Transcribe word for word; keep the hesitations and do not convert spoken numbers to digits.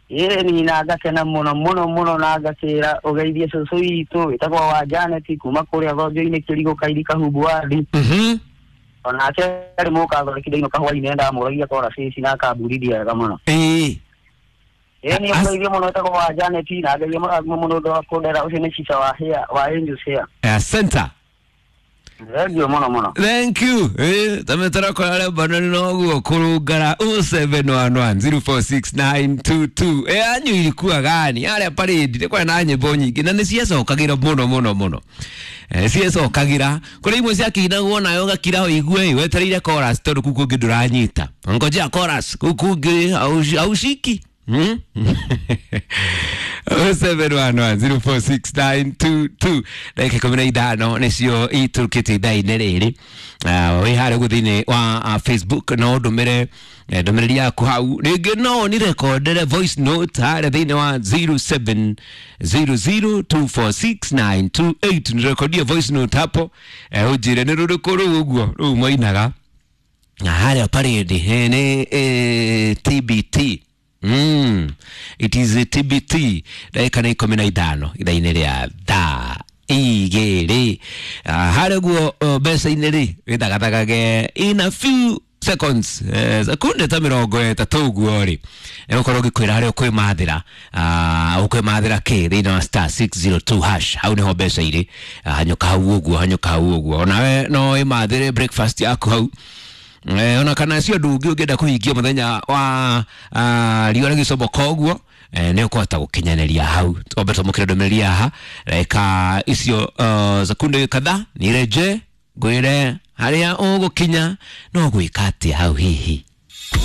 Ĩni na ngakena mũno mũno mũno na ngakĩra ũgeithie cũcũ witũ wĩtagwo wa Janet kuma kũrĩa Thonjo-inĩ Kĩrigũ Kairi Kahumbu wadi. Mhm. Onake arĩ mũkathondekithia ino kahũa-inĩ ndamũragia kora cici na akamburithia wega mũno. Ĩĩ. Ĩni As- ũgeithie mũno wĩtagwo wa Janet na ngeithie mũno ũndũ wa kũndera ũcio nĩ cica wa hair wa Angels Hair. Asante. Thengiũ mũno mũno. Thank you. Eh, tametara kwa arĩa banani noguo kũrũngara oh seven one one zero four six nine two two. Eh, anyu ilikuwa gani? Arĩa parade nĩ kwarĩ na nyĩmbo nyingĩ na nĩ ciecokagĩra mũno mũno mũno. Eh, ciecokagĩra kũrĩ imwe ciakĩinagwo nayo ũgakira ũigue wetereire chorus tondũ kũu kũngĩ ndũranyita. Ngojea chorus kũu kũngĩ haushiki. Hmm? oh seven one one zero four six nine two two ndagĩka ikũmi na ithano nĩcio itũrũkĩte ithaa-inĩ rĩrĩ. Ah, wĩ harĩa ũguo thĩinĩ wa ah, Facebook no ndũmĩre eh, ndũmĩrĩri yaku hau rĩngĩ no ũnirekondere voice note harĩa thĩinĩ wa zero seven zero zero two four six nine two eight nirekodie voice note hapo eh, ũnjĩre nĩ rũrĩkũ rũu ũguo rũu mwainaga na harĩa parade eh, nĩ eh, T B T. Mm. It is a T B T ndagĩka nĩ ikũmi na ithano ithaa-inĩ rĩa thaa igĩrĩ. Ah, harĩa ũguo uh, mbeca-inĩ rĩ wĩthagathagage in a few seconds eh, sekunde ta mĩrongo ĩtatũ ũguo rĩ nĩgũkorwo ngĩkwĩra harĩa ũkwĩmathĩra ah, ũkwĩmathĩra kĩ thĩinĩ wa star six zero two hash hau nĩho mbeca irĩ. Ah, hanyũka hau ũguo hanyũka hau ũguo onawe no wĩmathĩre breakfast yaku hau. Eh, ona kana cio ũndũ ũngĩ ũngĩenda kũhingia mũthenya wa ah, riũa rĩgĩcomoka ũguo eh, nĩ ũkũhota gũkinyanĩria hau. Twambe twamũkĩre ndũmĩrĩri haha ndagĩka icio uh, sekunde kadhaa nireje ngwĩre harĩa ũgũkinya no gwĩka atĩa hau hihi.